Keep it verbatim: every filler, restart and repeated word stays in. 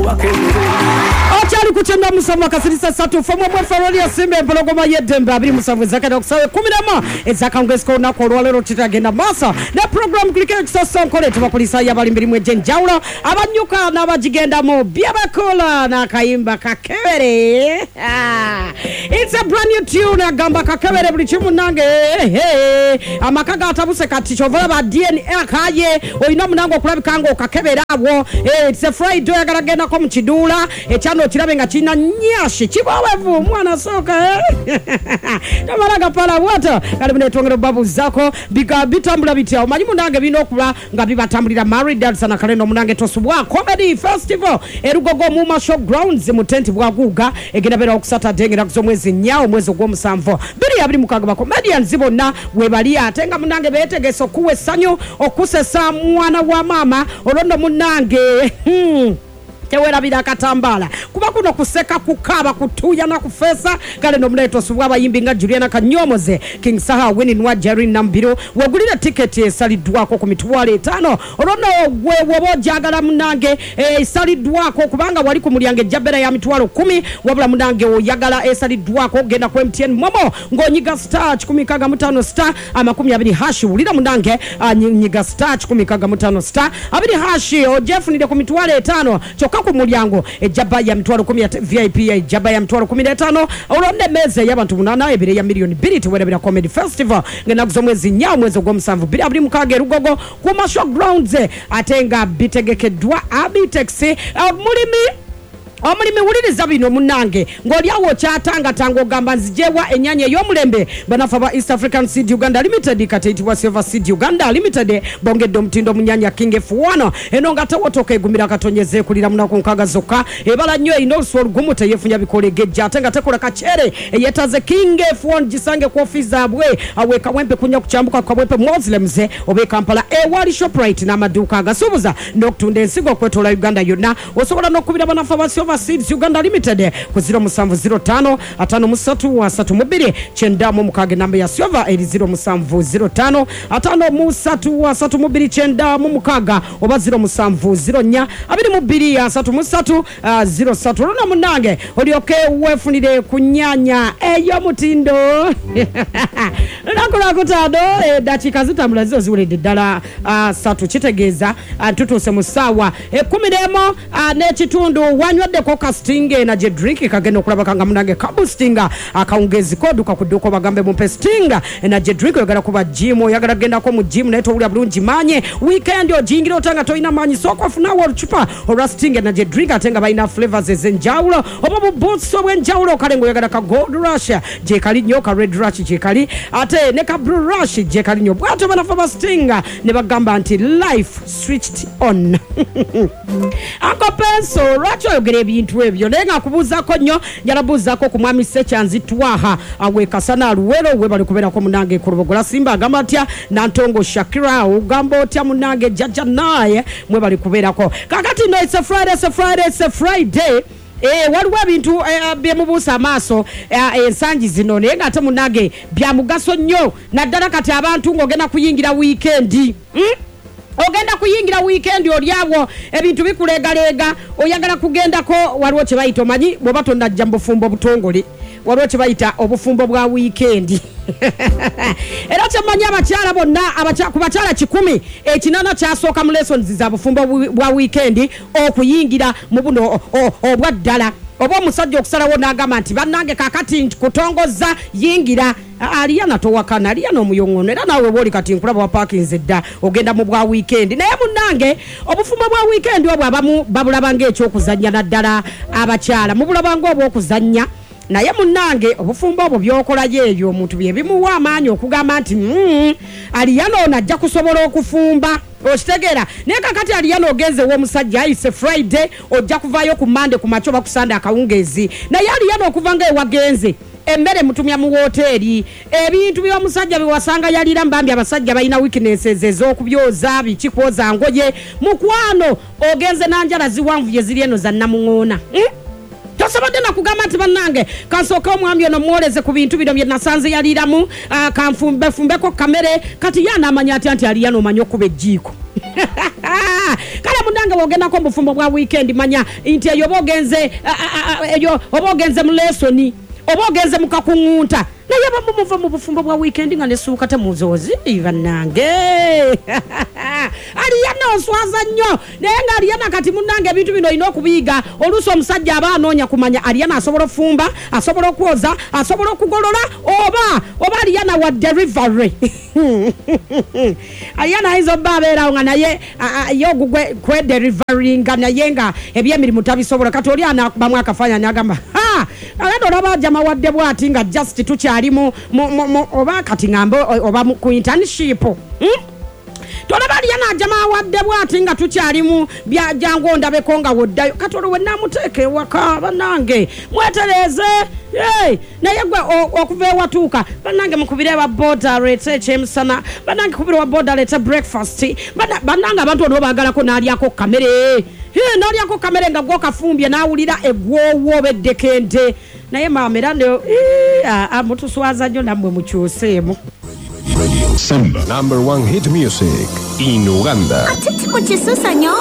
Okyali ku kyenda musanvu akasirisa ssatu ffe mwe Feroli Simba empologoma y'eddembe abiri musanvu ezakenda okusawa ekkumi n'emu ezakawungeezi k'olunaku olwaleero. Tutagenda maaso ne program kuliko ekisasa nkole tubakulisaayo abali mirimu egy'enjawulo, abanyuka n'abagigendamu byebakola n'akayimba kakebere. Ah, it's a brand new tune, agamba kakebere buli kimu nange. Amaka gatabuse kati kyova olaba D N A kaye olina munange okulabika nga okakebera awo. Eh, it's a Friday, oyagala gendako mu kiduula ekyano okirabe nga kirina nyashi kibowevu omwana sooka tamala gapala bwata. Kale munetwongera obabuuzaako biga bitambula bitya? Omanyi munange birina okuba nga bibatambulira maridals nakaleno. Munange tosubwa comedy festival erugogo mu Masho Grounds mu tent bwaguuga egenda beera ku Saturday ng'ennaku z'omwezi nnya omwezi ogw'omusanvu bbiri abiri mukaaga. Ba comedians bonna webali ate nga munange beetegese okuwa essanyu, okusesa mwana wa maama. Olwo nno munange, hmm. tewerabira akatambaala kuba kuno kuseka, kukaaba, kutuuya kufeesa. Kale nomunaye tosubwa abayimbi nga Juliana Kanyomoze, King Saha, Wininwa, Jerry Nambiro. Wegulira tiketi esaliddwako ku mitwalo etaano. Olwo nno gwe woba ojagala munange esaliddwako, kubanga wali ku mulyango ejja ya mitwalo kumi, wabula munange oyagala esaliddwako, genda ku M T N MoMo ng'onyiga star kikumi nkaaga mu ttaano star amakumi abiri hash. Wulira munange, ah, nyi- nyiga star kikumi nkaaga mu ttaano star abiri hash ojefunire ku mitwalo etaano. Kyokka ku mulyango ejjaba ya mitwalo kumi, ate V I P ejjaba ya mitwalo kumi n'etaano. Olwo nno emmeeza ey'abantu munaana ebiri eya miliyoni bbiri. Tewerabira comedy festival ng'ennaku z'omwezi nnya omwezi ogw'omusanvu bbiri abiri mukaaga erugogo ku Masho Grounds, ate nga bitegekeddwa Abitex. Mulimi omulimi, wuliriza bino munnange, ng'oli awo okyatangatanga ogamba nzijewa ennyanya ey'omulembe. Banafe ba East African Seed Uganda Limited, kati eyitibwa Silver Seed Uganda Limited, bongedde omutindo mu nnyanya King F one eno nga tewotoka, egumira akatonyeza, ekulira munaku nkaaga zokka, ebala nnyo, erina olusu olugumu, teyeefunya bikola, egejja ate nga tekola kakyere. Eyetaze King F one gisange ku ofiisi zaabwe awe Kawempe kunya kukyambuka ku Kawempe Muslims oba e Kampala ewali Shoprite n'amaduuka agasuubuza n'okutunda ensigo okwetoola Uganda yonna. Osobola n'okubira banafe ba Silver Seeds Uganda Limited ku zero musanvu zero ttaano ataano mu ssatu asatu mu bbiri kyenda mu mukaaga. Enamba ya Silver eri zero musanvu zero ttaano ataano mu ssatu asatu mu bbiri kyenda mu mukaaga oba zero musanvu zero nnya abiri mu bbiri asatu mu ssatu ah, zero ssatu. Olwo munnange olyoke weefunire ku nnyanya ey'omutindo. Lunaku lwakutaano, eddakiika zitambula zizo ziweredde ddala ah, ssatu, kitegeeza ah, tutuuse mu ssaawa ekkumi n'emu ah, n'ekitundu. Wanywaddeko ka Sting Energy Drink? Kagenda okulabaka nga munange kaboostinga akawungeezi koduka ku dduuka obagambe mumpe Sting Energy Drink. Oyagala kuba gym, oyagala kugendako mu gym naye towulira bulungi maanyi, weekend ogiyingira ota nga tolina maanyi, sooka ofunawo olucupa olwa Sting Energy Drink. Ate nga balina flavors ez'enjawulo oba buboosts obw'enjawulo. Kale ngaoyagala ka Gold Rush gyekali nnyo, ka Red Rush gyekali, ate ne ka Blue Rush gyekali nnyo. Bwatyo banafe ba Sting ne bagamba nti life switched on. Uncle Penso, lwaki oyogera ebintu ebyo? Naye nga nkubuuzaako nnyo, njala buuzaako ku mwami Sekyanzi Twaha awe Kasana Luwero, webali kubeerako munange ku Lubogola Simba. Agamba atya Nantongo Shakira? Ogamba otya munange Jajja naye? Mwebali kubeerako. Kakati no, it's a Friday, it's a Friday, it's a Friday. Eh, waliwo ebintu eh, byemubuusa amaaso eh, ensangi zino, naye ng'ate munange bya mugaso nnyo, naddala kati abantu ng'ogenda kuyingira wiikendi, hmm? Ogenda kuyingira wiikendi, oli awo ebintu bikuleegaleega, oyagala kugendako. Waliwo kye bayita, omanyi bw'oba tonnajja mu bufumbo butongole, waliwo kye bayita obufumbo bwa wiikendi. Era kyemmanyi abakyala bonna, abakya- ku bakyala kikumi, ekinana kyasooka mu lessons za bufumbo bwi- bwa wiikendi okuyingira mu buno o- o- obwa ddala, oba omusajja okusalawo n'agamba nti bannange kakati kutongoza yingira. Aliyana towakana, aliyana omuyoŋono. Era naawe bwoli kati nkulaba wapaakinze dda, ogenda mu bwa wiikendi. Naye munnange obufumbo bwa wiikendi obwo abamu babulaba ng'ekyokuzannya, naddala abakyala mubulaba ng'obwokuzannya. Naye munnange obufumbo obwo byokolayo ebyo omuntu bye bimuwa amaanyi okugamba nti mm, aliyana ono ajja kusobola okufumba, okitegeera? Naye kakati aliyana ogenze ew'omusajja, ayise Friday, ojja kuvaayo ku Mande ku makya oba ku Sande akawungeezi. Naye aliyana okuva nga ewagenze, emmere mutumya mu woteeri, ebintu by'omusajja byewasanga yalira mbambi. Abasajja balina weaknesses ez'okubyoza, biki, kwoza ngoye. Mukwano ogenze nanjala ziwanvu ye ziri eno za namuŋoona, hmm? Tosobodde nakugamba nti Bannange, kansooke omwami ono mwoleze ku bintu bino bye nasanze yaliiramu, ah, kanfumbefumbeko kamere. Kati ye anaamanya atya nti Aliyana omanyi okuba ejjiiko? Kale munnange, bw'ogendako mu bufumbo bwa weekend, manya nti eyo oba ogenze, ah, ah, ah, eyo oba ogenze mu lesson, oba ogenze mu kakuŋŋunta. Naye abamu muva mu bufumbo bwa weekend nga nesuuka temuzoozi. Bannange, Aliyana oswaza nnyo. Naye nga Aliyana kati munnange, ebintu bino olina okubiyiga. Oluusi omusajja aba anoonya kumanya Aliyana asobola okufumba, asobola okwoza, asobola okugolola, oba oba Aliyana wa delivery. Aliyana ayinza obba abeerawo nga naye a- a- ye ogugwe kwedeliveringa, naye nga ebyemirimu tabisobola. Kati oli anakubamu akafaananyi agamba, "Ha, agenda olaba ajama wadde bwati nga just tukyali mu, mu, mu, mu oba kati ŋŋambe oba mu- ku internship, hmm? Tolaba Aliyana ajama awadde bwati nga tukyali mu bya jangu ondabeko nga woddayo." Kati olwo wenaamuteeka ewaka, bannange mwetereeze. Hey, naye gwe o- okuva ewatuuka, bannange mukubire wa boda aleete ekyemisana, bannange kubire wa boda aleete breakfast. Banna- bannange abantu ono baagalako n'alyako kamere. Hey, n'alyako kamere nga gwokafumbye, n'awulira egwowo oba eddekente. Naye maama era ne- Ii, ah, ah, mutuswaza nnyo nammwe, mukyuseemu. Radio Simba. Number one hit music in Uganda. Ate kikukisusa nnyo.